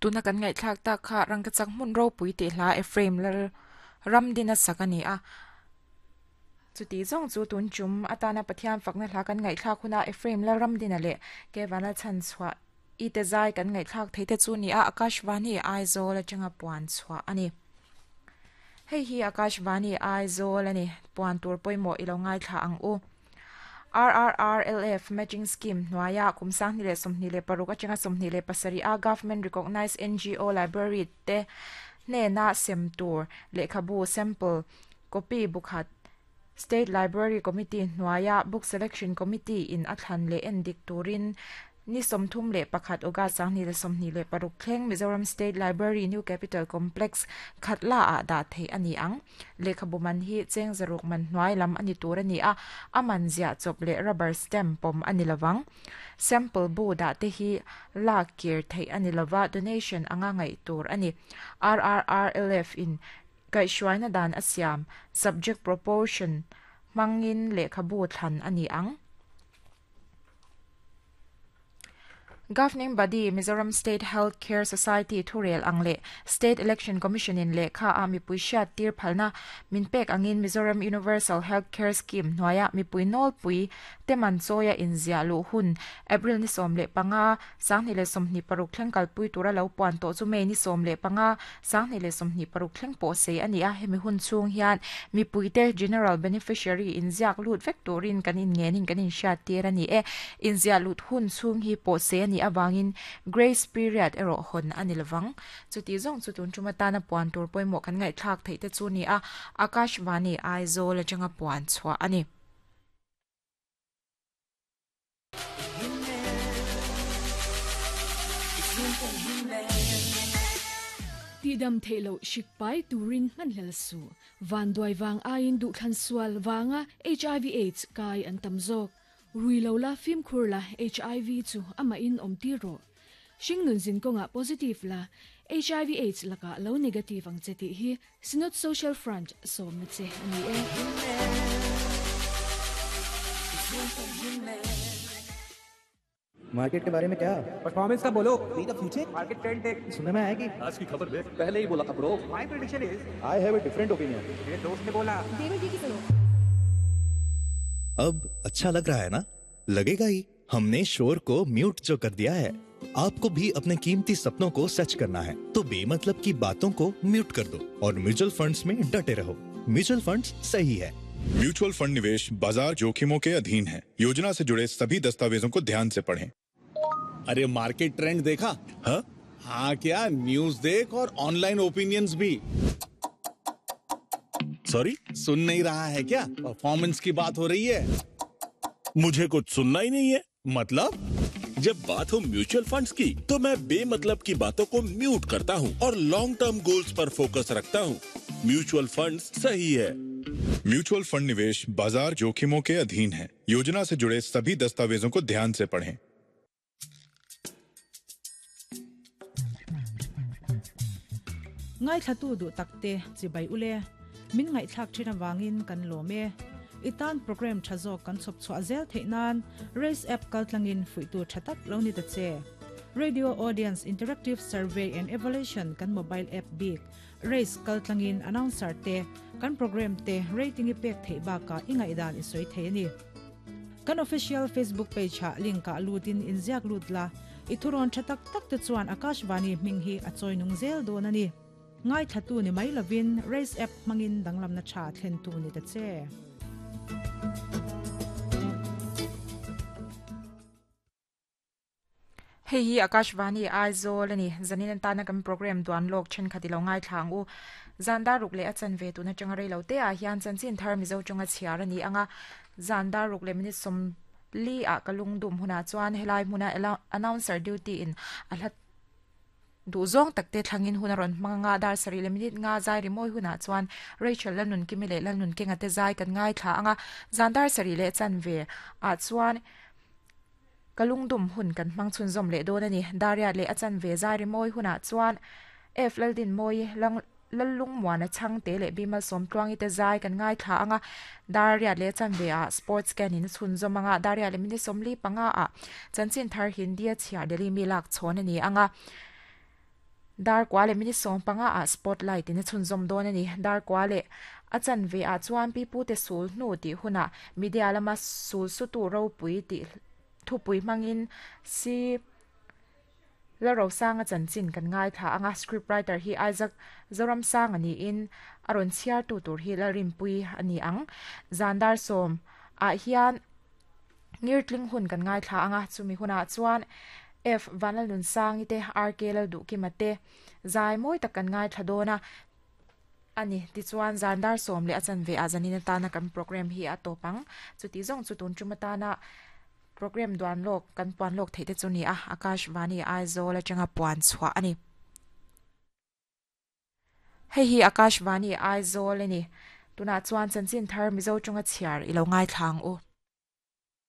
Tuna kan ngaihthlak tak kha rangkachak hmun ropui tih hla Ephraim lal Ramdina sak a ni a. Chuti zawng chu tun tum atana Pathian fakna hla kan ngaihthlak huna Ephraim lal Ramdina leh Kevana chhanchhuah i te zai kan ngaihthlak theih te chu ni a, Akashvani Aizawl atanga puan chhuah a ni. Hei hi Akashvani Aizawl a ni, puan tur pawimawh i lo ngaithla ang u. RRRLF Matching Scheme hnuaia kum 2026 atanga 27 a Government Recognised NGO Library te hnena sem tur lehkhabu sample copy bukhat State Library Committee hnuaia Book Selection Committee in a thlan leh endik turin Ni 31 August 2026 thleng Mizoram State Library New Capital Complex Khatla ah dah theih a ni ang. Lehkhabu man hi cheng zaruk man hnuai lam a ni tur a ni a, a man ziah chawp leh rubber stamp pawm a ni lovang. Sample bu dah te hi lak kir theih a ni lova, donation anga ngaih tur a ni. RRRLF in kaihhruaina dan a siam, subject proportion hmangin lehkhabu thlan a ni ang. Governing Body, Mizoram State Health Care Society thurel ang leh State Election Commission in lehkha a mipui hriat tir phalna min pek angin Mizoram Universal Health Care Scheme hnuaia mipui nawlpui te man chawia inziah luh hun April ni 15, 2026 thleng kalpui tura lo puan tawh chu May ni 15, 2026 thleng pawh sei a ni a, hemi hun chhung hian mipuite General Beneficiary inziak lut vek turin kan inngenin kan inhriat tir a ni e. Inziah lut hun chhung hi pawh sei a nih avangin Grace Period erawh hawn a ni lovang. Chuti zawng chu tun tum atana puan tur pawimawh kan ngaihthlak theih te chu ni a, Akashvani Aizawl atanga puan chhuah a ni. Tihdam theih loh hrik pai turin hmanhlel suh. Vanduai vang aiin duhthlan sual vanga hiv aids kai an tam zawk. Rui lo la fimkhur la hiv chu amahin awm tir rawh. Hringnun zin kawngah positive la hiv aids lakah lo negative ang che tih hi Synod Social Front sawmna che a ni e. Market के बारे में क्या performance का बोलो see the future market trend देख सुनने में आया कि आज की खबर देख पहले ही बोला था bro my prediction is I have a different opinion मेरे दोस्त ने बोला देवर जी की सुनो अब अच्छा लग रहा है ना लगेगा ही हमने शोर को म्यूट जो कर दिया है आपको भी अपने कीमती सपनों को सच करना है तो बेमतलब की बातों को म्यूट कर दो और म्यूचुअल फंड्स में डटे रहो म्यूचुअल फंड्स सही है म्यूचुअल फंड निवेश बाजार जोखिमों के अधीन है योजना से जुड़े सभी दस्तावेजों को ध्यान से पढ़ें अरे मार्केट ट्रेंड देखा हाँ? हाँ क्या न्यूज देख और ऑनलाइन ओपिनियंस भी सॉरी सुन नहीं रहा है क्या परफॉर्मेंस की बात हो रही है मुझे कुछ सुनना ही नहीं है मतलब जब बात हो म्यूचुअल फंड्स की तो मैं बेमतलब की बातों को म्यूट करता हूँ और long term goals पर फोकस रखता हूँ म्यूचुअल फंड्स सही है म्यूचुअल फंड निवेश बाजार जोखिमों के अधीन है योजना से जुड़े सभी दस्तावेजों को ध्यान से पढ़ें Ngaithlatu duh takte chibai ule, min ngaihthlak thin avangin kan lawm e. I tan program tha zawk kan chhawp chhuah zel theih nan Race app kaltlangin fuihtu tha tak lo ni ta che. Radio Audience Interactive Survey and Evaluation kan mobile app bik Race kaltlangin announcer te kan program te rating i pek theih bakah i ngaihdan i sawi thei a ni. Kan official Facebook page ah link ah lutin inziak lut la, i thurawn tha tak tak te chuan Akashvani hming hi a chawi nung zel dawn a ni. Ngaithlatu ni mai lovin Race app hmangin danglamna tha thlentu ni ta che. Hei hi Akashvani Aizawl a ni. Zanin atana kan program duan lawk thenkhat i lo ngaithla ang u. Zan dar ruk leh a chanve tun atanga rei lo te ah hian chanchin thar Mizo tawnga chhiar a ni ang a. Zan dar ruk leh minute sawmli ah ka lungdum hunah chuan helai hmuna announcer duty in a hla Duh zawng tak te thlangin hun a rawn hmang anga dar sarih leh minute nga zai rimawi hunah chuan Rachel Lalnunkimi leh Lalnunkenga te zai kan ngaithla anga zan dar sarih leh chanve ah chuan ka lungdum hun kan hmang chhunzawm leh dawn a ni. Dariat leh a chanve zai rimawi hunah chuan F Laldinmawi Lallungmuana Chhangte leh Bimal Sawmtluangi te zai kan ngaithla anga Dariat leh chanve ah Sports Scan in a chhunzawm anga Dariat leh minute 45 ah Chanchin Thar Hindi a chhiar Delhi mi lak chhawn a ni anga. Dar kua leh minute 15 ah Spotlight in a chhunzawm dawn a ni. Dar kua leh a chanve ah chuan pi pute sul hnu tih hunah media lama sul sutu ropui tih thupui hmangin si Lalrosanga chanchin kan ngaithla ang a, script writer hi Isaac Zoramsanga niin a rawn chhiartu tur hi Lalrinpuii a ni ang. Zan dar sawm ah hian Ngirtling hun kan ngaithla ang a, chumi hunah chuan F Vanlalnunsangi te, RK Lalduhkima te zai mawi tak kan ngaithla dawn a a ni. Tichuan zan dar sawm leh a chanve ah zanin atana kan programme hi a tawp ang. Chuti zawng chu tun tum atana Programme duan lawk kan puan lawk theih te chu ni a, Akash Vani Aizawl atanga puan chhuah a ni. Hei hi Akash Vani Aizawl a ni. Tunah chuan chanchin thar Mizo tawnga chhiar i lo ngaithla ang u.